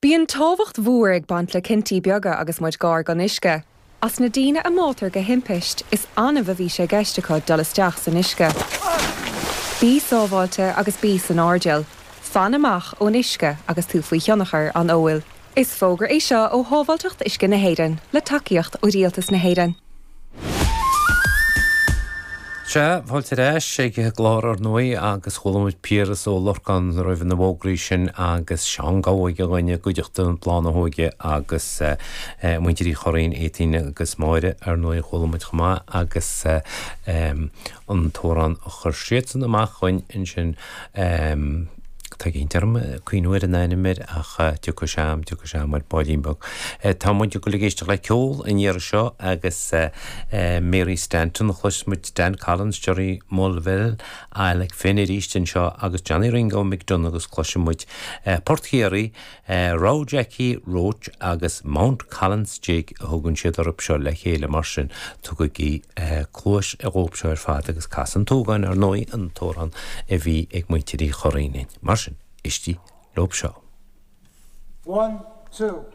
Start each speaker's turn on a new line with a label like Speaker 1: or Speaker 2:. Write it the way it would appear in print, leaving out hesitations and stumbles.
Speaker 1: Bíonn tábhacht mhór ag baint le cinntí beaga agus muid gar don uisce. As na daoine a mbáitear de thimpist, is annamh a bhí sé i gceist acu dul isteach san uisce. Bí sábháilte agus bí san airdeall. Fan amach ón uisce agus tú faoi thionchar an óil. Is fógra é seo ó Shábháilteacht Uisce na hÉireann, le tacaíocht ó Rialtas na hÉireann.
Speaker 2: Sea, fáilte ar ais ag an gclár ar ndóigh agus chuala muid Piaras Ó Lorcáin roimh na bhfógraí sin agus Seán Gabha againn i gcuideachta Bláth na hÓige agus muintir Uí Churraoin, Étaín agus Máire ar ndóigh a chuala muid chomh maith agus an t-amhrán a chuir siadsan amach chugainn ansin. Tá ag innt orm cuimhniú ar an ainm air ach tiocfaidh sé a'm, tiocfaidh sé a'm ar baillín beag. Tá muid ag dul ag éisteacht le ceol an iarraidh seo agus Mary Stanton a chloisfidh muid, Dan Collins, Gerry Mulville, Alec Finn arís anseo agus Johnny Ringo McDonagh agus cloisfidh muid Port Chiarraí, Row Jackie Roche agus Mount Collins Jig a thugann siad orthu seo le chéile mar sin tugaigí cluais dhóibh seo ar fad agus Cas an tSúgáin ar ndóigh an t-amhrán a bhí ag muintir Uí Churraoin. Mar sin, éistigí leob seo.
Speaker 3: One, two.